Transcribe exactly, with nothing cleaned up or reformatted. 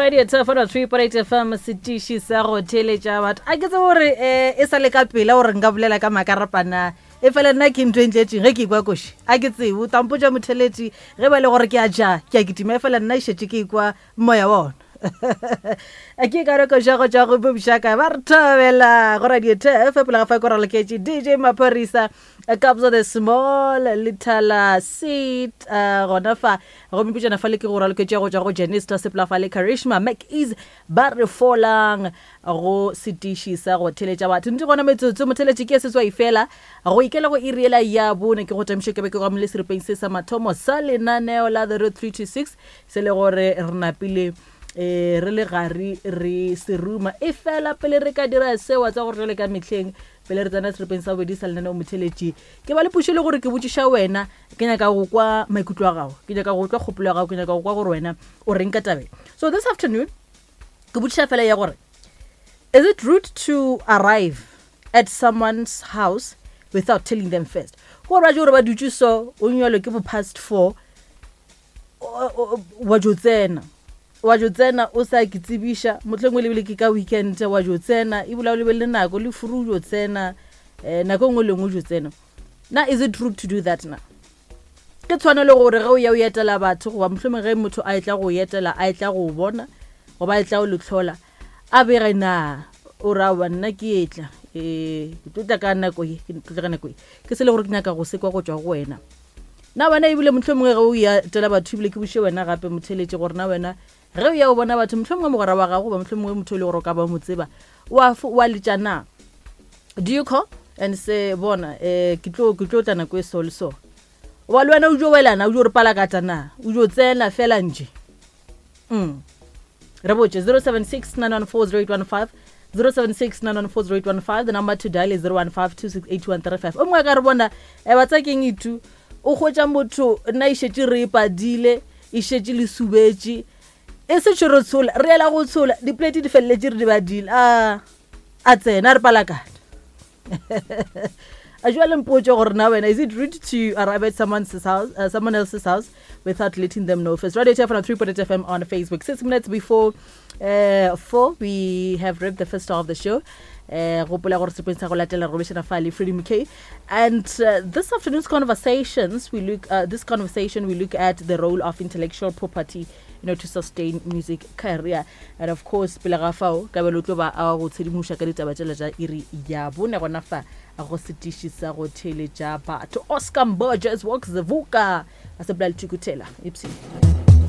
Radio Thefano three point eight F M, setiši sa go theeletša batho. A ke tsebe gore um e sa le ka pela gore nka bolela ka makarapana, e fela nna ke ntho e ntletšeng ge ke ikwa koši. A ke tsebe, o tampotša motheletši ge ba le gore ke a ja, ke a kitima, e fela nna e šetše ke ikwa moya wa ona. A ke ka reko ja go tša go bošaka ba re thobela go Radio T F pele ga fa ko raloketše D J Maphorisa Kabza the Small Litala Seat uh, gona fa go meputšana fa le ke go raloketše go tšwa go Janista Sepla fa le Karishma McEase ba re folang go setiši sa go theletša batho. Ntse gona metsotso motheletši ke seswai fela go ikela go iri ela ya bone ke go tamiše ke be ke go amile seripeng se sa mathomo sa lenaneo la The Road three two six se le gore re napile eh re le gare re seruma e fela pele re ka dira seo tsa gore jwale ka mehleng pele re tsena seripeng sa bobedi sa lenaneo motheletši ke ba le pušo le gore ke botšiša wena ke nyaka go kwa maikutlo a gago, ke nyaka go utlwa kgopolo ya gago, ke nyaka go kwa gore wena o reng ka tabeng. So this afternoon ke botšiša fela ya gore is it rude to arrive at someone's house without telling them first? Gore ba je gore ba dutše so o nyalwe ke bo past four wa jo tsena wa jo tsena o sa ke tsebiša mohlomongwe lebile ke ka weekend wa jo tsena ebile o lebelele nako le furu jo tsena eh nako nngwe le nngwe jo tsena. Na is it rude to do that na? Ke tshwanelo gore ge o ya o etela batho goba mohlomongwe ge motho a etla go etela a etla go bona goba a etla go le hlola a bege na o ra wa nna ke etla eh ke tlo tla ka nako ye ke tlo tla ka nako ye ke se le gore ke nyaka go sekwa go tšwa go wena. Na wena ebile mohlomongwe ge o ya etela batho ebile ke buše wena gape motheletše gore na wena ge o ya o bona batho mohlomongwe mogwera wa gago goba mohlomongwe motho e le gore o ka ba mo tseba wa wa letša na? Do you call and say bona eh ke tlo ke tlo tla nako e so le so? Wa le wena o jo welana o jo re palakata na o jo tsena fela nje? Mm re botše zero seven six nine one four zero eight one five, zero seven six nine one four zero eight one five. The number to dial is zero one five two six eight one three five. O mongwe ka re bona e ba tsa keng itu o hwetša motho nna e šetše re e padile e šetše le subetše e se tšhoro tshola re ela go tshola diplate di feleletše re di badile a a tsena re palakata. A jwale mpotše gore na wena is it rude to arrive at someone's house, uh, someone else's house without letting them know first? Radio T F three point eight F M on Facebook. Six minutes before uh, four, we have wrapped the first half of the show. Gopola gore sepeng sa go latela re robešana fa le Freddie McKay. And uh, this afternoon's conversations, we look uh, this conversation we look at the role of intellectual property, you know, to sustain music career. And of course, pele ga fao ka belo tlo ba a go tshedimoša ka ditaba tšela tša iri ya bone gona fa go setiši sa go theeletša batho. Oscar Mbojes walks the vuka a sepela le Thukuthela. Ipsy.